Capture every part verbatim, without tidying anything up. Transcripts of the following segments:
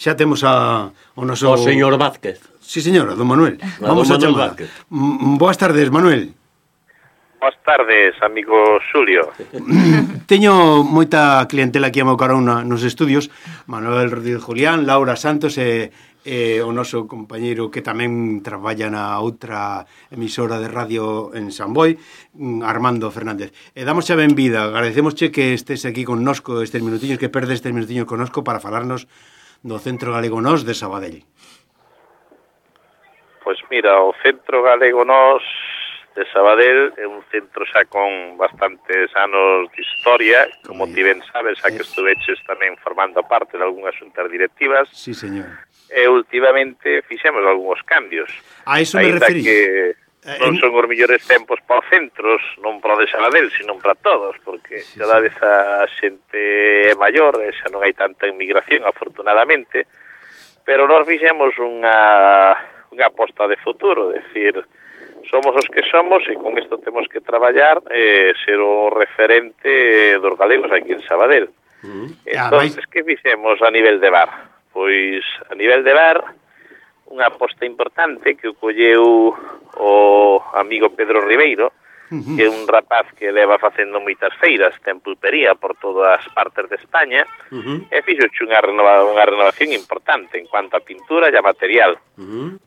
xa temos a, o noso... O señor Vázquez. Sí, señora, don Manuel. A Vamos don a Manuel chamar. Vázquez. M- Boas tardes, Manuel. Boas tardes, amigo Xulio. Teño moita clientela aquí a meu carón na, nos estudios. Manuel Rodríguez Julián, Laura Santos e, e o noso compañeiro que tamén traballa na outra emisora de radio en San Boi, Armando Fernández. E damos xa benvida, agradecemosche que estés aquí connosco estes minutiños, que perdes estes minutiños connosco para falarnos do Centro Galego Nós de Sabadell. Pois mira, o Centro Galego Nós de Sabadell é un centro xa con bastantes anos de historia, como ti ben sabes, xa que estuveches tamén formando parte de algunhas xuntas directivas. Sí, señor. E últimamente fixemos algúns cambios. A iso me Ainda referí. que non son os mellores tempos para os centros, non para o de Sabadell, sino para todos, porque sí, cada sí. vez a xente é maior, e xa non hai tanta inmigración, afortunadamente, pero nós fixemos unha, unha aposta de futuro, é dicir, somos os que somos e con isto temos que traballar e eh, ser o referente dos galegos aquí en Sabadell. Uh-huh. Entón, ah, que fixemos a nivel de bar? Pois, a nivel de bar, unha aposta importante que o colleu o amigo Pedro Ribeiro, uh-huh. que é un rapaz que leva facendo moitas feiras, ten pulpería por todas as partes de España, uh-huh. e fixo unha, renova, unha renovación importante en cuanto a pintura e a material. Uh-huh.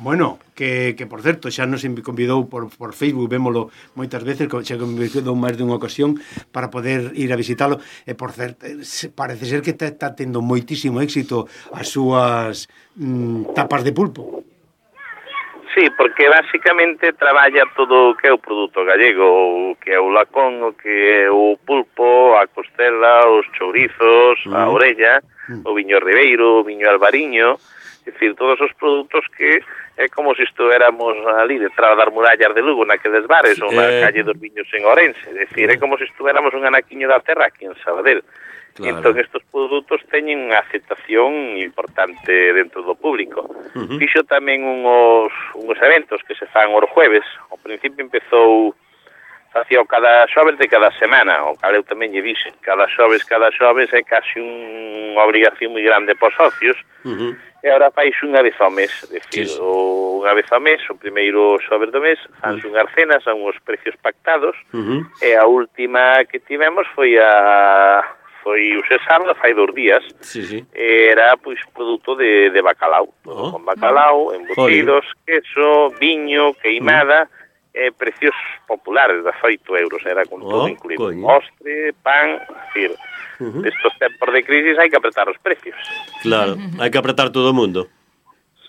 Bueno, que, que por certo, xa nos convidou por, por Facebook, vémolo moitas veces, xa convidou máis dunha ocasión para poder ir a visitalo, e por certo, parece ser que está tendo moitísimo éxito as súas mm, tapas de pulpo. Sí, porque basicamente traballa todo o que é o produto gallego, o que é o lacón, o que é o pulpo, a costela, os chourizos, uh-huh. a orella, uh-huh. o viño ribeiro, o viño albariño, é dicir, todos os produtos que é como se estuéramos ali detrás das murallas de Lugo, naqueles bares, ou na eh... calle dos Viños en Ourense, é dicir, é como se estuéramos un anaquiño da terra aquí en Sabadell. Claro. Entón, estes produtos teñen unha aceptación importante dentro do público. Uh-huh. Fixo tamén unhos, unhos eventos que se fan os jueves. Ao principio empezou, facía cada xoves de cada semana, o cal eu tamén lle dixen, cada xoves, cada xoves é casi unha obrigación moi grande para os socios, uh-huh. e agora fais unha vez ao mes, decir, sí. o, unha vez ao mes, o primeiro xoves do mes, fans uh-huh. unhas cenas a unhos precios pactados, uh-huh. e a última que tivemos foi a... foi o sábado, fai dos días, sí, sí. era, pois, produto de, de bacalao, oh. con bacalao, embutidos, Joder. queso, viño, queimada, uh-huh. eh, precios populares, de oito euros, era con oh, todo incluído, coño. Postre, pan, decir, uh-huh. estos tempos de crisis hai que apretar os precios. Claro, hai que apretar todo o mundo.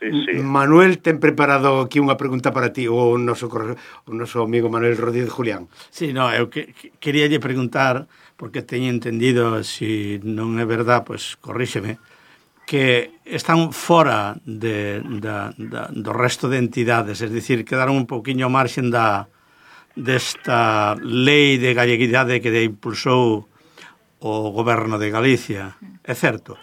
Sí, sí. Manuel, ten preparado aquí unha pregunta para ti, o noso, o noso amigo Manuel Rodríguez Julián. Sí, no, eu que, que, queríalle preguntar, porque teño entendido, se si non é verdad, pois corríxeme, que están fora de, da, da, do resto de entidades, es dicir, quedaron un pouquiño marxen da desta lei de galleguidade que impulsou o goberno de Galicia. É certo?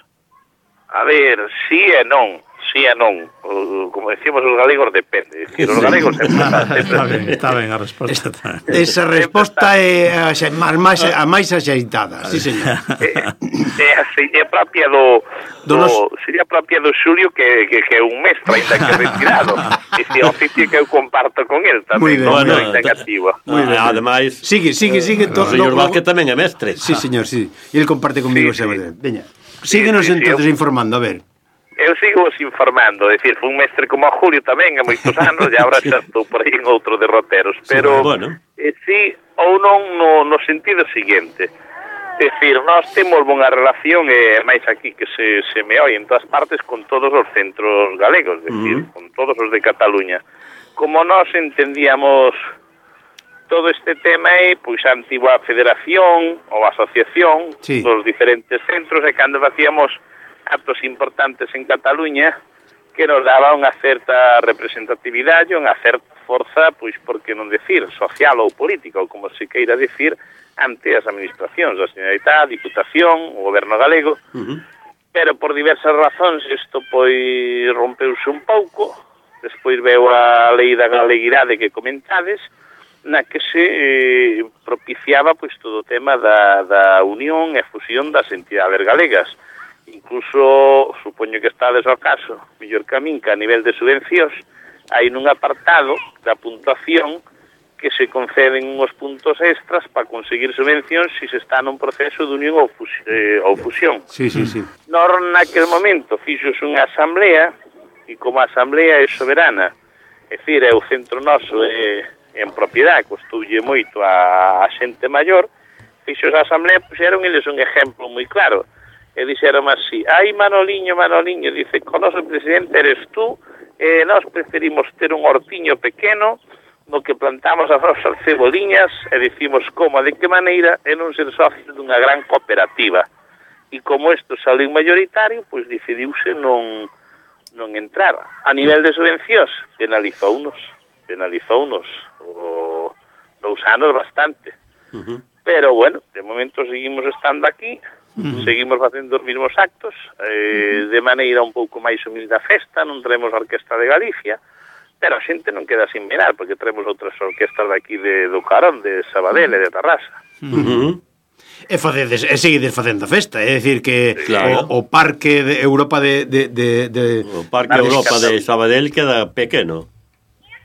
A ver, sí e non. Sí e non, o, como decimos os galegos, depende. Decir, os galegos sempre están, sempre está ben, está ben a resposta. Esa resposta é a, a, máis, a máis axeitada, sí, señor. É, é a seña propia do, do, do nos... seña propia do Xulio que, que, que é un mestre ainda que retirado. Ese oficio que eu comparto con el tamén, non é negativo. Moi ben, ademais, sigue, sigue, sigue. O señor Vázquez tamén é mestre. Sí, señor, sí. E el comparte conmigo sí, sempre. Sí. Veña, síguenos sí, sí, entonces sí, informando, a ver. Eu sigo os informando, é dicir, fui un mestre como a Julio tamén há moitos anos, e agora xa estou por aí en outro derroteros, pero sí, bueno. eh, sí ou non no, no sentido seguinte, é dicir, nós temos unha relación, e máis aquí que se, se me oi en todas partes, con todos os centros galegos, é dicir, uh-huh. con todos os de Cataluña. Como nós entendíamos todo este tema é, pois, a antigua federación ou asociación sí. dos diferentes centros, e cando facíamos actos importantes en Cataluña que nos daba unha certa representatividade, unha certa forza, pois, por que non decir, social ou política, ou como se queira decir, ante as administracións, a Generalitat, a Diputación, o Goberno galego, uh-huh. pero por diversas razóns isto, pois, rompeuse un pouco, despois veu a lei da galeguidade que comentades, na que se eh, propiciaba, pois, todo o tema da, da unión e fusión das entidades galegas. incluso, supoño que estades ao caso, mellor que a min, que a nivel de subvencións, hai nun apartado da puntuación que se conceden uns puntos extras para conseguir subvencións se se está nun proceso de unión ou, fus eh, ou fusión. Sí, sí, sí. Nor naquel momento fixos unha asamblea, e como a asamblea é soberana, é dicir, é o centro noso é, é en propiedade, costoulle moito a, a xente maior, fixos a asamblea, puxeron eles un exemplo moi claro, e dixeron así, ai Manoliño, Manoliño, dice, con noso presidente eres tú, e nós preferimos ter un hortiño pequeno, no que plantamos as nosas ceboliñas e dicimos como, de que maneira, e non ser socios dunha gran cooperativa. E como isto saliu mayoritario, pois decidiuse non, non entrar. A nivel de subvencións, penalizounos, penalizounos o, dous anos bastante. Uh-huh. Pero, bueno, de momento seguimos estando aquí, uh-huh. seguimos facendo os mesmos actos, eh, uh-huh. de maneira un pouco máis humilde a festa, non traemos a Orquesta de Galicia, pero a xente non queda sin mirar, porque traemos outras orquestas daqui de, do Carón, de Sabadell e de Tarrasa. Uh-huh. E, facedes, e seguides facendo a festa, é dicir que claro. o, o Parque de Europa de... de, de, de o Parque Europa de Sabadell queda pequeno.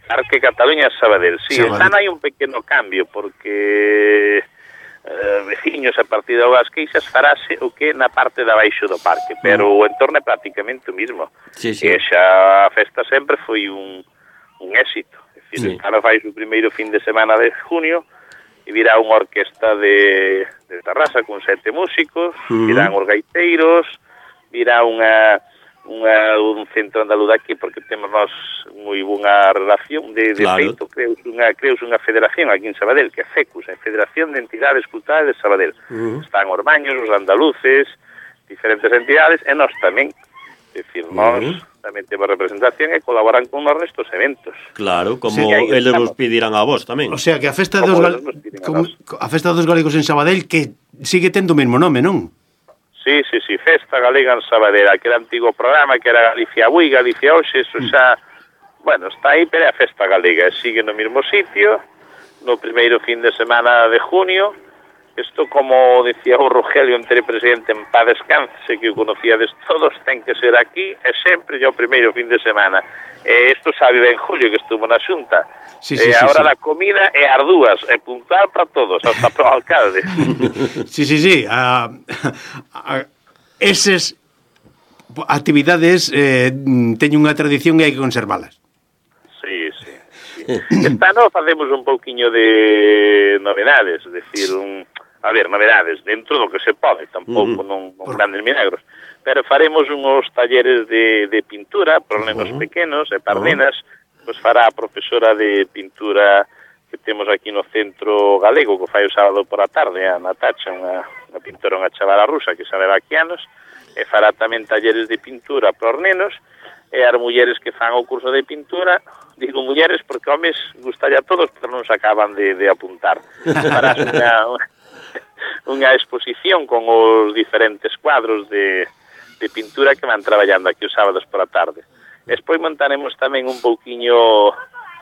Parque Cataluña e Sabadell, sí, Sabadell. están hai un pequeno cambio, porque eh, veciños a partir de Augas Queixas farase o que na parte de abaixo do parque, pero o entorno é prácticamente o mismo. Sí, sí. E xa a festa sempre foi un un éxito. É dicir, sí. Ahora fai o primeiro fin de semana de junio e virá unha orquesta de, de Tarrasa con sete músicos, uh-huh. virán os gaiteiros, virá unha, unha, un centro andaluz aquí, porque temos nós moi bunha relación de, de claro. feito, creus unha, creus unha federación aquí en Sabadell, que é FECUS, é Federación de Entidades Culturales de Sabadell. Uh-huh. Están os baños, os andaluces, diferentes entidades, e nós tamén. É dicir, nós uh-huh. tamén temos representación e colaboran con nós nestos eventos. Claro, como sí, eles vos pedirán a vos tamén. O sea, que a festa dos gal... como, a festa dos galegos en Sabadell que sigue tendo o mesmo nome, non? Sí, sí, sí, Festa Galega en Sabadell, aquel antigo programa que era Galicia Bui, Galicia Oxe, eso xa, bueno, está aí, pero é a Festa Galega, sigue no mesmo sitio, no primeiro fin de semana de junio. Isto, como decía o Rogelio, entre presidente en paz descanse, que o conocíades todos, ten que ser aquí, e sempre é o primeiro fin de semana. E isto sabe ben Julio, que estuvo na xunta. Sí, sí, e sí, a hora sí. da comida é as dúas, é puntual para todos, hasta para o alcalde. Sí, sí, sí. A, a, eses actividades eh, teñen unha tradición e hai que conservalas. Sí, sí. sí. Esta no facemos un pouquiño de novedades, es decir, un... A ver, novedades, dentro do que se pode, tampouco uh-huh. non, non grandes milagros, pero faremos uns talleres de, de pintura para nenos uh-huh. pequenos e para uh-huh. nenas, pois fará a profesora de pintura que temos aquí no centro galego, que fai o sábado por a tarde, a Natacha, unha, unha pintora, unha chavala rusa que sabe aquí anos, e fará tamén talleres de pintura para os nenos, e as mulleres que fan o curso de pintura, digo mulleres porque homes gustalle a todos, pero non se acaban de, de apuntar. Farás unha... unha unha exposición con os diferentes cuadros de, de pintura que van traballando aquí os sábados por a tarde. Despois montaremos tamén un pouquiño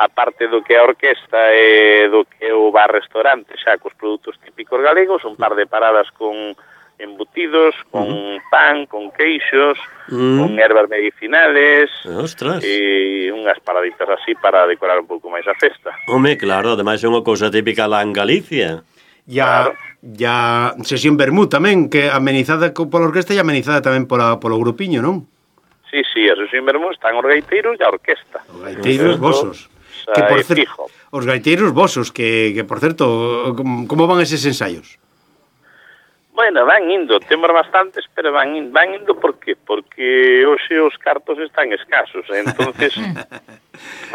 a parte do que é a orquesta e do que é o bar-restaurante xa cos produtos típicos galegos, un par de paradas con embutidos, con uh-huh. pan, con queixos, uh-huh. con ervas medicinales. Ostras. E unhas paraditas así para decorar un pouco máis a festa. Home, claro, ademais é unha cousa típica lá en Galicia. Ya, claro. ya sesión vermú tamén, que amenizada pola orquesta e amenizada tamén pola, polo grupiño, non? Sí, sí, a sesión vermú están os gaiteiros e a orquesta. Os gaiteiros vosos. Que por certo, os gaiteiros vosos, que, que por certo, como, como van eses ensaios? Bueno, van indo, temos bastantes, pero van indo, van indo por qué? Porque hoxe os cartos están escasos, entonces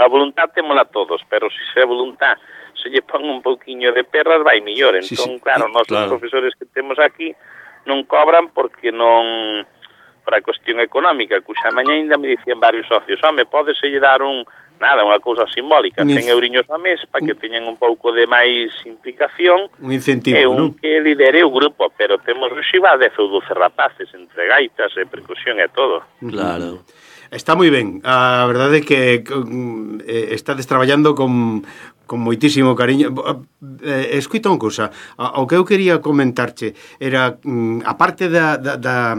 a voluntad témola todos, pero se se a voluntad se lle pon un pouquiño de perras vai millor, entón, sí, sí. claro, nós claro. os profesores que temos aquí non cobran porque non, para a cuestión económica, cuxa mañá ainda me dicían varios socios, home, pódese lle dar un, nada, unha cousa simbólica, cen euriños a mes, para que teñan un pouco de máis implicación, un incentivo, e un non? que lidere o grupo, pero temos xiva dez ou doce rapaces, entre gaitas e percusión e todo. Claro. Está moi ben, a verdade é que eh, estades traballando con, con moitísimo cariño. Eh, escuita unha cousa, o que eu quería comentarche era, a parte da, da, da,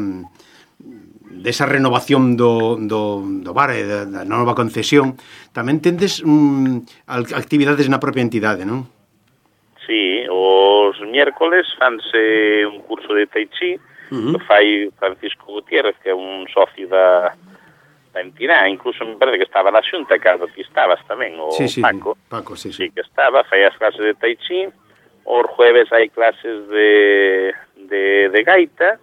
desa renovación do, do, do bar e da, da nova concesión, tamén tendes um, actividades na propia entidade, non? Sí, os miércoles fanse un curso de Tai Chi, uh-huh. que fai Francisco Gutiérrez, que é un socio da, da entidade, incluso me parece que estaba na xunta, cando ti estabas tamén, o sí, sí, Paco, Paco sí, sí. sí que estaba, fai as clases de Tai Chi, os jueves hai clases de, de, de gaita,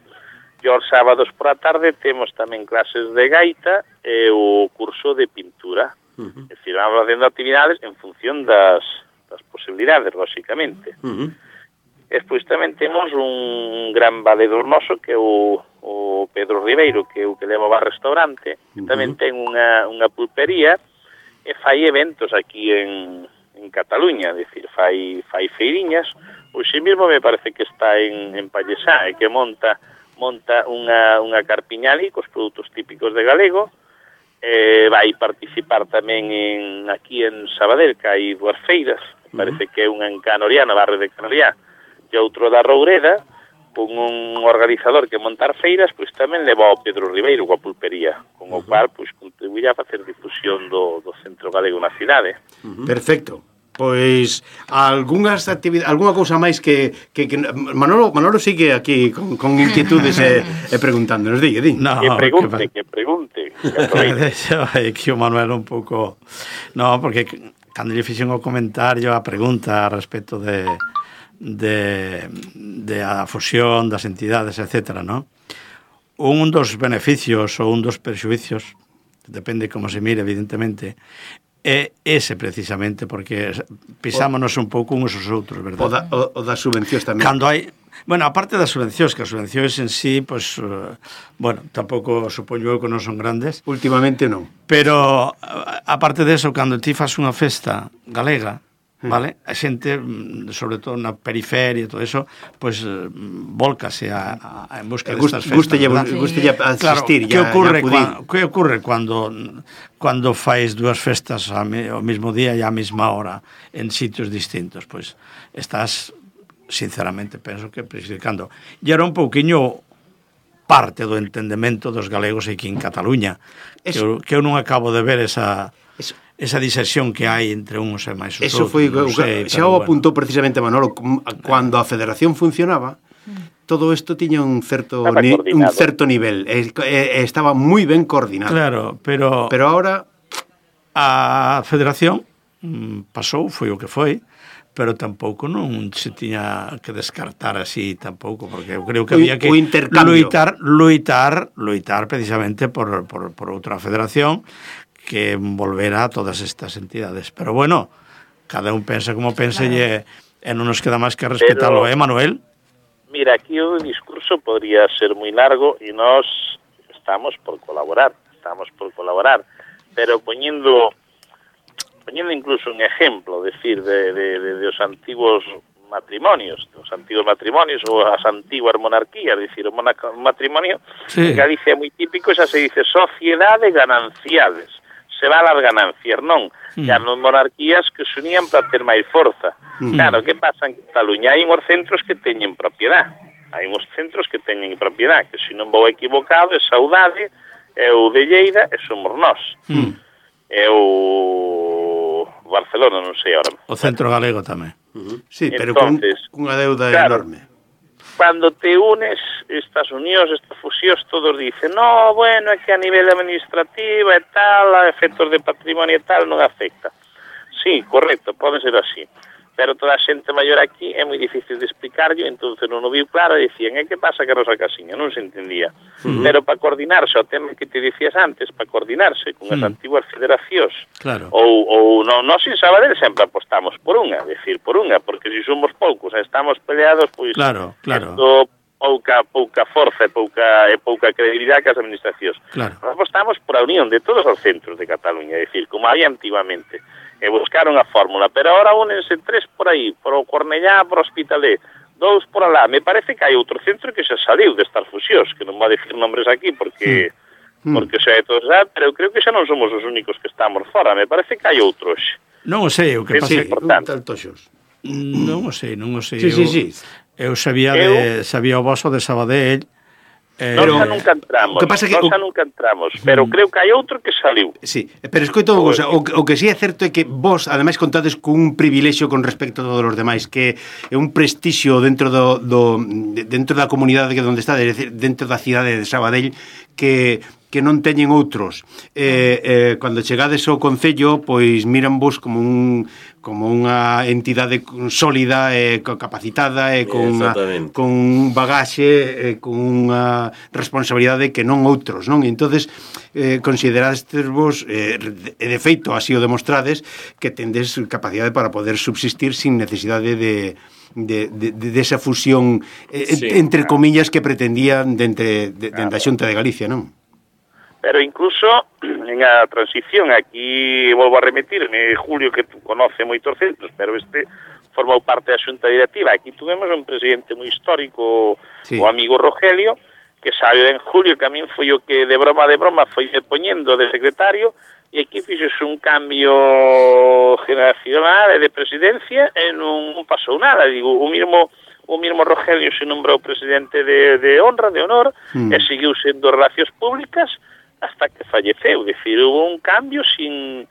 e os sábados por a tarde temos tamén clases de gaita e o curso de pintura. Uh-huh. É dicir, vamos facendo actividades en función das, das posibilidades, lóxicamente. Uh-huh. Despois tamén temos un gran valedor noso, que é o, o Pedro Ribeiro, que é o que leva o restaurante, que uh-huh. tamén ten unha, unha pulpería e fai eventos aquí en, en Cataluña, é dicir, fai, fai feiriñas. Hoxe mesmo me parece que está en, en Pallesá, e que monta monta unha, unha carpiña ali cos produtos típicos de galego, eh, vai participar tamén en, aquí en Sabadell, que hai dúas feiras, uh-huh. parece que é unha en Canoriá, na barrio de Canoriá, e outro da Roureda, con un organizador que montar feiras, pois tamén leva ao Pedro Ribeiro coa pulpería, con o uh-huh. cual pois contribuirá a facer difusión do, do centro galego na cidade. Uh-huh. Perfecto. Pois algunhas actividades, algunha cousa máis que, que, que Manolo, Manolo sigue aquí con, con inquietudes e, e preguntándonos, digue, di. No, que pregunte, que, que pregunte. Deixa que o Manuel un pouco... No, porque cando lle fixen o comentario, a pregunta respecto de, de, de a fusión das entidades, etcétera, ¿no? Un dos beneficios ou un dos perxuicios, depende como se mire, evidentemente, é ese precisamente, porque pisámonos un pouco uns aos outros, verdad? O, da, o, o das subvencións tamén. Cando hai, bueno, aparte das subvencións, que as subvencións en sí, pues, uh, bueno, tampouco supoño eu que non son grandes. Últimamente non. Pero, aparte de eso, cando ti fas unha festa galega, vale? A xente, sobre todo na periferia e todo eso, pois pues, volcase a, a, en busca destas festas, guste ¿verdad? Guste ya asistir, claro, que ocurre, ya cuando, que ocurre cando cando fais dúas festas ao mesmo día e á mesma hora en sitios distintos? Pois pues, estás, sinceramente, penso que prejudicando. E era un pouquiño parte do entendemento dos galegos aquí en Cataluña, que eu, que eu non acabo de ver esa... Eso. Esa diserción que hai entre uns e máis os Eso outros. foi, no sei, xa o apuntou bueno. precisamente Manolo, cando a federación funcionaba, todo isto tiña un certo ni, un certo nivel, e, e, estaba moi ben coordinado. Claro, pero pero ahora a federación pasou, foi o que foi, pero tampouco non se tiña que descartar así tampouco, porque eu creo que había que loitar, loitar, loitar precisamente por, por, por outra federación que envolverá a todas estas entidades. Pero bueno, cada un pensa como pensa claro. e, e non nos queda máis que respetarlo, eh, Manuel? Mira, aquí o discurso podría ser moi largo e nós estamos por colaborar, estamos por colaborar, pero poñendo poñendo incluso un ejemplo, decir, de, de, de, de os antigos matrimonios, os antigos matrimonios ou as antiguas monarquías, decir, o matrimonio sí. en Galicia é moi típico, xa se dice sociedade gananciales, se va las ganancias, non? Mm. Xa non monarquías que se unían para ter máis forza. Mm. Claro, que pasa en Cataluña? Hai uns centros que teñen propiedade. Hai uns centros que teñen propiedade, que se non vou equivocado, é Saudade, é o de Lleida, e somos nós. Mm. É o Barcelona, non sei ahora. O centro galego tamén. Uh-huh. Sí, pero entonces, con unha deuda claro, enorme. Cando te unes, estas unións, estas fusións, todos dicen, no, bueno, é que a nivel administrativo e tal, a efectos de patrimonio e tal, non afecta. Sí, correcto, pode ser así. Pero toda a xente maior aquí é moi difícil de explicarlo, entón non o viu claro, e dicían, e que pasa que Rosa Casiña? Non se entendía. Uh-huh. Pero para coordinarse, o tema que te dicías antes, para coordinarse con as uh-huh. antiguas federacións, claro. ou, ou non, nós en Sabadell sempre apostamos por unha, decir, por unha, porque se somos poucos e estamos peleados, pois, claro, claro. Esto, pouca, pouca forza e pouca, e pouca credibilidade que as administracións. Claro. Nós apostamos por a unión de todos os centros de Cataluña, é dicir, como había antiguamente, e buscaron a fórmula, pero ahora únense tres por aí, por o Cornellá, por o Hospitalet, dous por alá. Me parece que hai outro centro que xa saliu destas fusións, que non vou a decir nombres aquí, porque mm. porque xa é todo xa, pero eu creo que xa non somos os únicos que estamos fora, me parece que hai outros. Non o sei, o que pasa é importante. Non o sei, non o sei. Sí, eu, sí, sí. Eu sabía, eu... de, sabía o voso de Sabadell, Eh, Nós pero- xa nunca entramos, o que pasa que nós o- xa nunca entramos, pero creo que hai outro que saliu. Sí, pero escoito unha cousa, o, que- o que sí é certo é que vos, ademais, contades cun privilexio con respecto a todos os demais, que é un prestixio dentro do, do de- dentro da comunidade que onde está, é dicir, dentro da cidade de Sabadell, que que non teñen outros. Eh, eh, cando chegades ao Concello, pois miran vos como un como unha entidade sólida e capacitada e con unha, Exactamente. con un bagaxe e con unha responsabilidade que non outros, non? E entonces eh, considerastes vos eh, e de feito así o demostrades que tendes capacidade para poder subsistir sin necesidade de de, de, de esa fusión eh, Sí. entre comillas que pretendían dentro de, de, de, da Xunta de Galicia, non? Pero incluso en a transición, aquí volvo a remitirme, Julio, que tú conoce moitos centros, pero este formou parte da xunta directiva. Aquí tuvemos un presidente moi histórico, Sí. o amigo Rogelio, que saiu en Julio, que a min foi o que de broma de broma foi poñendo de secretario, e aquí fixose un cambio generacional e de presidencia e non pasou nada. Digo, o mismo o mismo Rogelio se nombrou presidente de, de honra, de honor, Mm. e seguiu sendo relacións públicas hasta que falleceu. Decir, hubo un cambio sin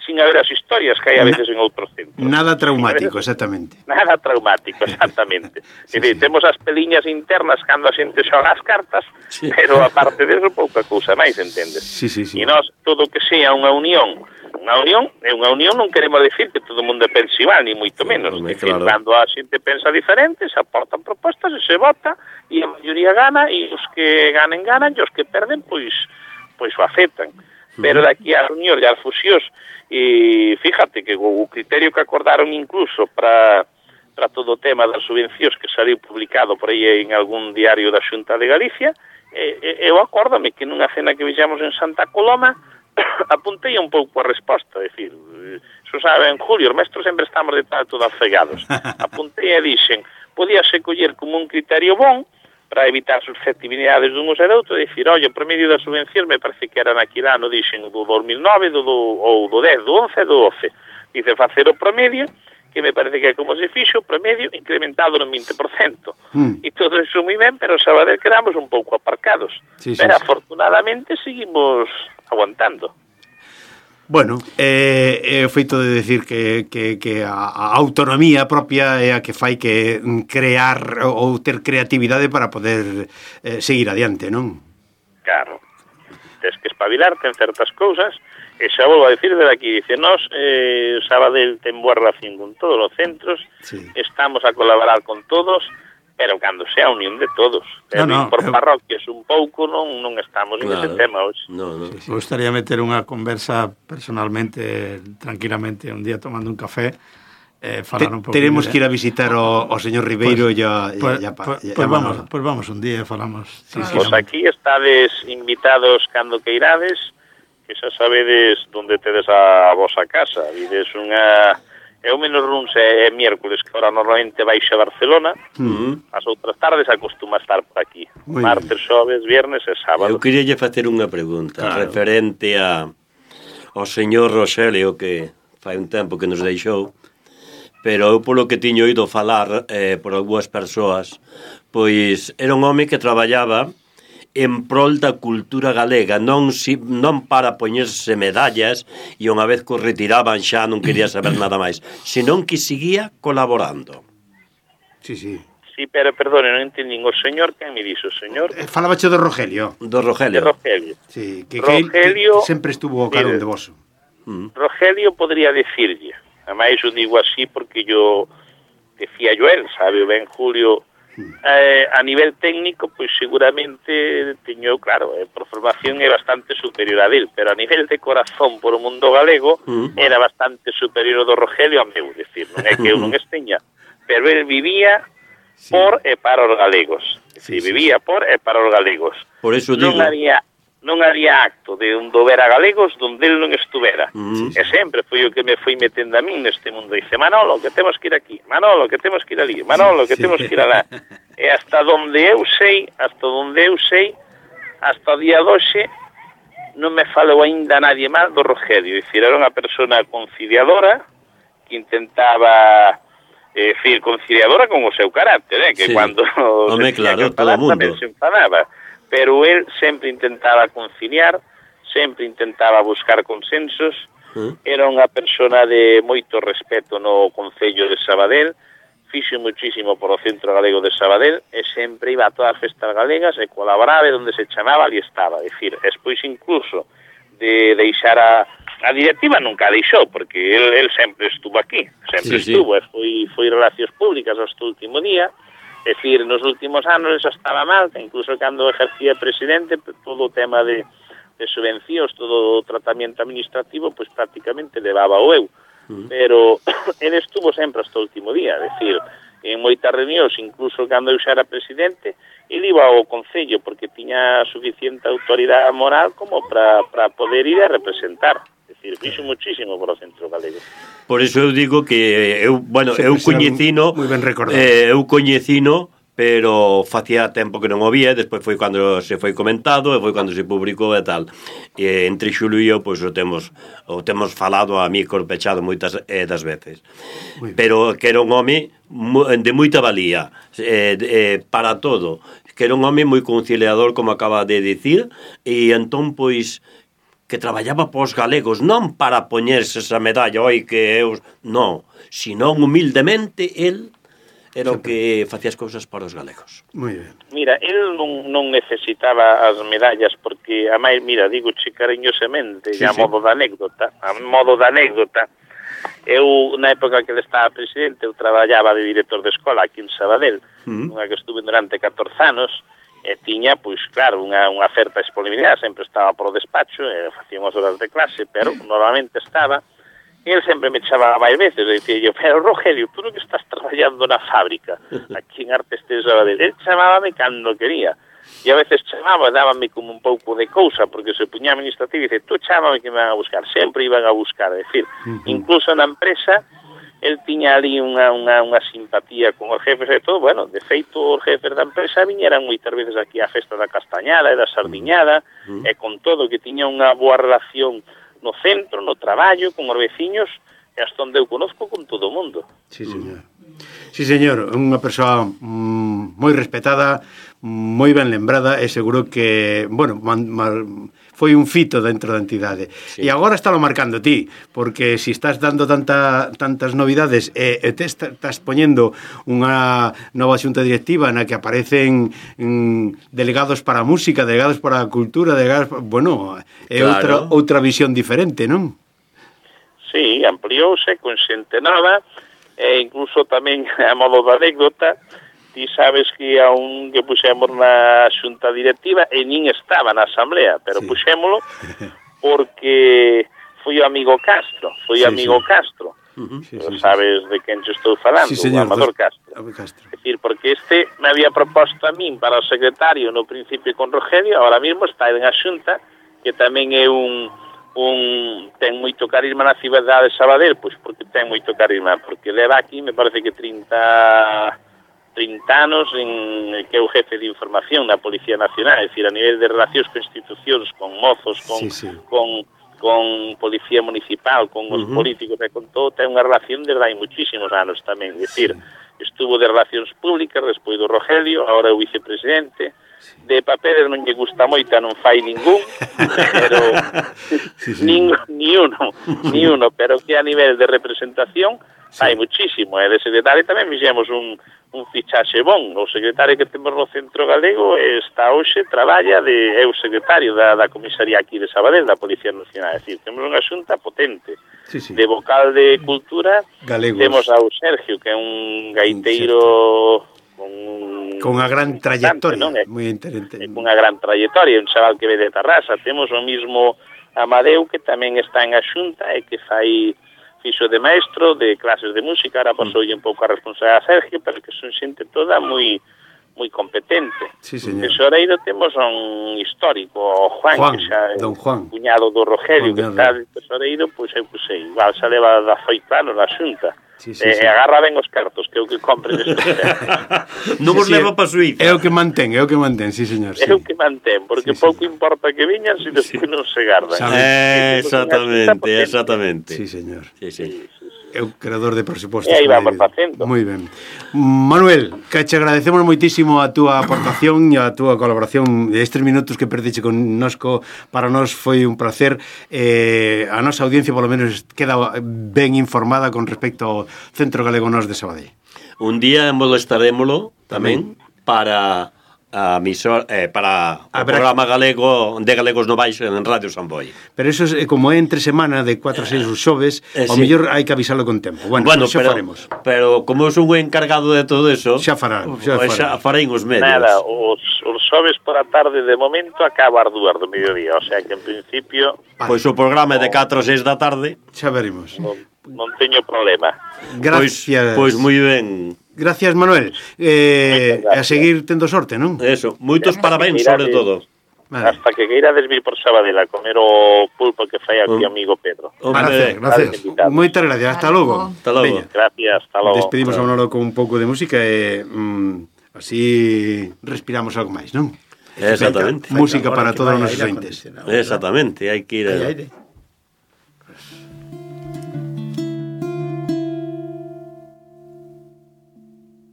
sin haber as historias que hai a veces en outros centros. Nada traumático, exactamente. Nada traumático, exactamente. Sí, É dicir, sí. temos as peliñas internas cando a xente xoga as cartas, Sí. pero aparte deso pouca cousa máis, entendes? Sí, sí, sí. E nós, todo que sea unha unión, unha unión, é unha unión non queremos decir que todo o mundo pense igual, ni moito menos. home, É dicir, claro. cando a xente pensa diferente, se aportan propostas e se vota, e a maioría gana, e os que ganen, ganan, e os que perden, pois, pois o aceptan. Pero daqui a unión e as fusións, e fíjate que o, o criterio que acordaron incluso para para todo o tema das subvencións que saliu publicado por aí en algún diario da Xunta de Galicia, e, e, eu acórdame que nunha cena que fixamos en Santa Coloma apuntei un pouco a resposta, é dicir, xo sabe, en Julio, os mestros sempre estamos de tanto afegados. Apuntei e dixen, podíase coller como un criterio bon para evitar susceptibilidades dun e do outro, e dicir, olha, o promedio das subvencións me parece que era naquele ano, dixen, do dos mil nove, do, do, ou do dez, do once, do doce. Dice, facer o promedio, que me parece que é como se fixo, o promedio incrementado no vinte por cento. Mm. E todo iso moi ben, pero Sabadell quedamos un pouco aparcados. Sí, sí, pero sí. afortunadamente seguimos aguantando. Bueno, é, é o feito de decir que, que, que a, a autonomía propia é a que fai que crear ou ter creatividade para poder eh, seguir adiante, non? Claro. Tens que espabilarte en certas cousas, e xa volvo a decir de aquí, dice, nós, eh, Sabadell ten boa relación con todos os centros, Sí. estamos a colaborar con todos, pero cando sea a unión de todos. No, No, no, por eu- parroquias un pouco non non estamos en ese Claro. tema hoxe. No, no. Me gustaría meter unha conversa personalmente, tranquilamente, un día tomando un café, eh, falar un Te, pouco. teremos que ir a visitar o, o señor Ribeiro e ya, Pues, ya, ya, pues, ya, pues ya vamos, Manolo. pues vamos un día e falamos. Sí, sí, Pois aquí estades invitados cando que irades, que xa sabedes onde tedes a vosa casa. Vides unha... É o menos runs é, é miércoles, que ahora normalmente baixa a Barcelona. Mm. As outras tardes acostuma estar por aquí. Muy Martes, xoves, viernes e sábado. Eu queria lle facer unha pregunta Claro. referente a ao señor Roxelio, que fai un tempo que nos deixou, pero eu polo que tiño oído falar eh, por algunhas persoas, pois era un home que traballaba en prol da cultura galega, non si, non para poñerse medallas e unha vez que os retiraban xa non quería saber nada máis, senón que seguía colaborando. Sí, sí. Sí, pero perdone, non entendín. O señor, quen me dixo? O señor Eh, Falabache do Rogelio. Do de Rogelio. Rogelio. Sí, que, que, Rogelio- que sempre estuvo ao carón Mire. de voso. Mm. Rogelio podría decirlle, ademais eu digo así porque yo decía yo él, sabe, ben Julio, eh, a nivel técnico, pois seguramente teño, claro, eh, por formación é bastante superior a del, pero a nivel de corazón por o mundo galego Mm. era bastante superior do Rogelio a meu, decir, non é que eu non esteña, pero el vivía Sí. por e para os galegos, Sí, sí, sí, vivía por e para os galegos. Por eso non digo. había non había acto de un dober a galegos donde el non estuvera. Mm. E sempre foi o que me foi metendo a min neste mundo. Dice, Manolo, que temos que ir aquí. Manolo, que temos que ir ali. Manolo, que Sí. temos que ir alá. E hasta donde eu sei, hasta donde eu sei, hasta o día doxe, non me falou aínda nadie mal do Rogelio. Dicir, era unha persona conciliadora que intentaba... É dicir, conciliadora con o seu carácter, eh? Que Sí. cando Home, se tiña claro, que todo falar, mundo. tamén se enfadaba. pero él sempre intentaba conciliar, sempre intentaba buscar consensos, era unha persona de moito respeto no Concello de Sabadell, fixo muchísimo por o Centro Galego de Sabadell e sempre iba a todas as festas galegas e colaboraba onde se chamaba ali estaba, é dicir, despois incluso de deixar a, a directiva nunca deixou, porque el, el sempre estuvo aquí, sempre sí, estuvo, sí. E foi, foi relacións públicas hasta o último día, é dicir, nos últimos anos eso estaba mal, que incluso cando ejercía presidente, todo o tema de, de subvencións, todo o tratamento administrativo, pois pues, prácticamente levaba o eu, uh-huh. Pero el estuvo sempre hasta o último día, é dicir, en moitas reunións, incluso cando eu xa era presidente, ele iba ao Concello porque tiña suficiente autoridade moral como para poder ir a representar. É dicir, fixo muchísimo por o Centro Galego. Por iso eu digo que eu, bueno, sí, eu coñecino, moi ben recordado. Eh, eu coñecino, pero facía tempo que non o vía, despois foi cando se foi comentado e foi cando se publicou e tal. E entre Xulo e eu, pois o temos o temos falado a mí corpechado moitas eh, das veces. Pero que era un home de moita valía, eh, eh, para todo, que era un home moi conciliador, como acaba de dicir, e entón, pois, que traballaba pos galegos, non para poñerse esa medalla, oi, que eu... Non, senón humildemente, el era o que facía as cousas para os galegos. Moi ben. Mira, el non, non necesitaba as medallas, porque, a máis, mira, digo che cariñosamente, sí, a sí. modo de anécdota, a modo de anécdota, eu, na época que ele estaba presidente, eu traballaba de director de escola aquí en Sabadell, mm. unha que estuve durante catorce anos, e tiña, pois, claro, unha, unha certa disponibilidade, sempre estaba por o despacho, e facía unhas horas de clase, pero normalmente estaba, e ele sempre me chamaba máis veces, e dicía yo, pero Rogelio, tú non que estás traballando na fábrica, aquí en Artes de Sabadell, ele chamábame cando quería, e a veces chamaba, dábame como un pouco de cousa, porque se puña administrativo e dice, tú chámame que me van a buscar, sempre iban a buscar, é dicir, uh-huh. incluso na empresa, el tiña ali unha, unha, unha simpatía con os jefes e todo, bueno, de feito os jefes da empresa viñeran moitas veces aquí á festa da Castañada e da Sardiñada, uh-huh. e con todo que tiña unha boa relación no centro, no traballo, con os veciños, e hasta onde eu conozco con todo o mundo. Sí, señor. Sí, señor, unha persoa mm, moi respetada, moi ben lembrada, e seguro que, bueno, man, man, foi un fito dentro da entidade. Sí. E agora estalo marcando ti, porque se si estás dando tanta, tantas novidades e, e te estás poñendo unha nova xunta directiva na que aparecen mm, delegados para a música, delegados para a cultura, delegados, bueno, é claro. outra, outra visión diferente, non? Sí, ampliouse con xente nova, e incluso tamén a modo de anécdota, ti sabes que a un que puxemos na xunta directiva e nin estaba na asamblea, pero sí. puxémolo porque foi o amigo Castro, foi o sí, amigo sí. Castro. Uh-huh. Sí, sí, sabes sí. de quen te estou falando, sí, señor, o Amador dos... Castro. Castro. É dicir, porque este me había proposto a min para o secretario no principio con Rogelio, ahora mismo está en a xunta, que tamén é un un ten moito carisma na cidade de Sabadell, pois porque ten moito carisma, porque leva aquí, me parece que trinta anos en que é o jefe de información da Policía Nacional, é dicir, a nivel de relacións con institucións, con mozos, con, sí, sí. con, con Policía Municipal, con os uh-huh. políticos e con todo, ten unha relación desde hai muchísimos anos tamén, é dicir, sí. estuvo de Relacións Públicas, despois do Rogelio, agora é o vicepresidente, de papeles non lle gusta moito, non fai ningún, pero sí, sí. Nin, ni uno, ni uno, pero que a nivel de representación sí. hai muchísimo, e de secretario tamén fixemos un, un fichaxe bon, o secretario que temos no Centro Galego está hoxe, traballa de, é o secretario da, da comisaría aquí de Sabadell, da Policía Nacional, é dicir, temos unha xunta potente, sí, sí. de vocal de cultura, Galegos. Temos ao Sergio, que é un gaiteiro con con unha gran trayectoria, non? É, moi interesante. Con unha gran trayectoria, un chaval que ve de Tarrasa. Temos o mismo Amadeu, que tamén está en a xunta e que fai fixo de maestro de clases de música, ahora pasou mm. un pouco a responsabilidade a Sergio, pero que son xente toda moi moi competente. Sí, señor. Tesoreiro temos un histórico, o Juan, Juan que xa é don Juan. Cuñado do Rogelio, Juan, que está de tesoreiro, pois eu pusei, igual xa leva dezaoito anos na xunta. Sí, sí, eh, sí. Agarra ben os cartos, que é o que compre neste non vos sí, leva para Suíza. É o que mantén, é o que mantén, sí, señor. Sí. É o que mantén, porque sí, pouco sí. importa que viñan se despois sí. non se gardan. Eh, exactamente, exactamente. Sí, señor. Sí, sí. E é o creador de presupostos. E aí vamos facendo. Moi ben. Manuel, que che agradecemos moitísimo a túa aportación e a túa colaboración estes minutos que perdiche con nosco. Para nós foi un placer. Eh, a nosa audiencia polo menos queda ben informada con respecto ao Centro Galego Nós de Sabadell. Un día molestarémolo tamén, tamén. para a misor, eh, para o programa galego de Galegos no Baixo en Radio Samboy. Pero eso é como é entre semana de cuatro a seis os xoves, eh, ao sí. mellor hai que avisalo con tempo. Bueno, bueno xa pero, faremos. Pero como son o encargado de todo eso, xa farán, xa farán. Xa farán os medios. Nada, os, os xoves por a tarde de momento acaba as dúas do mediodía, o sea que en principio... Vale. Pois o programa é de catro a seis da tarde. Xa veremos. Non, non teño problema. Gracias. Pois, pois moi ben. Gracias, Manuel. Eh, a seguir tendo sorte, non? Eso, moitos parabéns sobre todo. Vale. Hasta que queirades vir por Sabadell a comer o pulpo que fai aquí o amigo Pedro. Gracias, gracias. Moitas gracias, hasta logo. Hasta logo. Gracias, hasta logo. Despedimos a Manolo con un pouco de música e mm, así respiramos algo máis, non? Exactamente. Venga, música para todos os nosos ointes. Exactamente, hai que ir... Hai aire.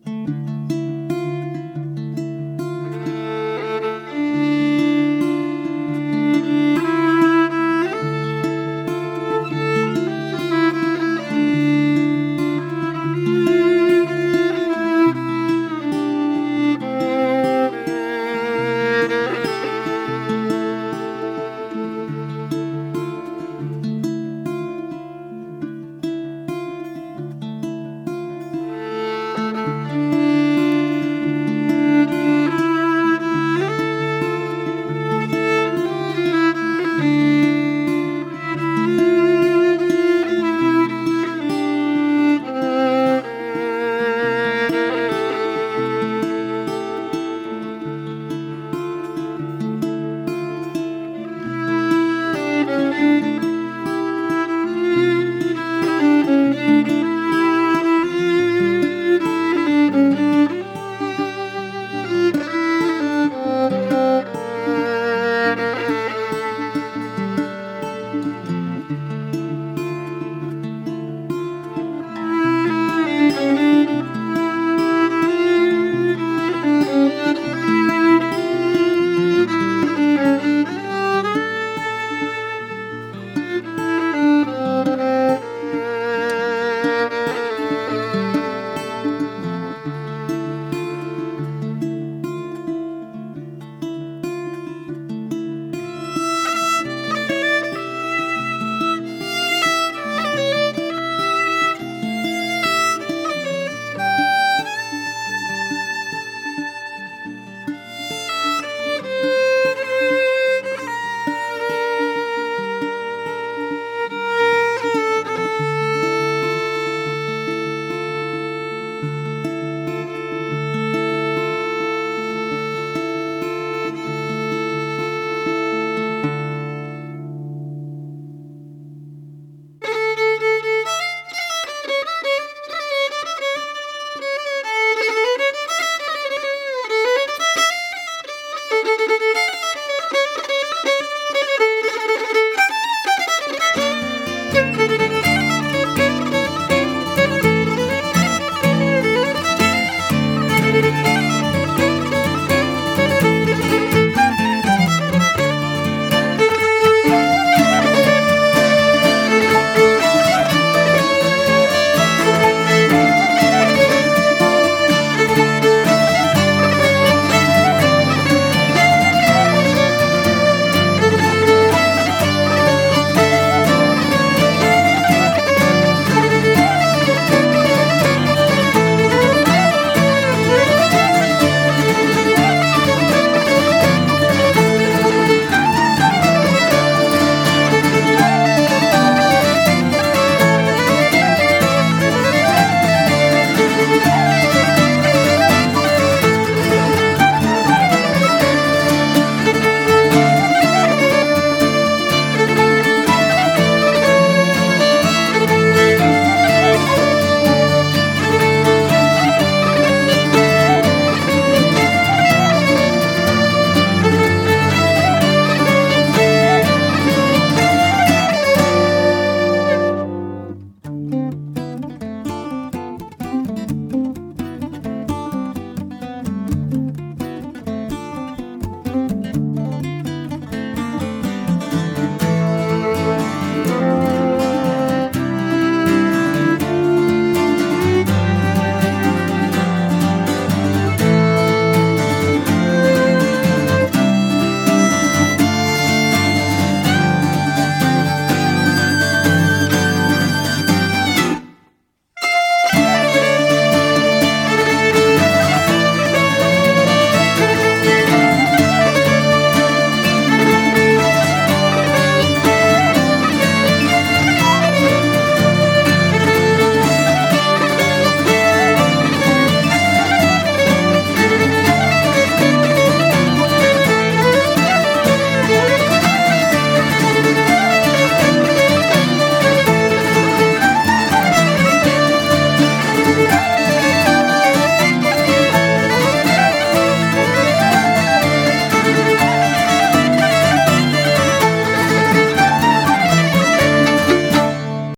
Thank you.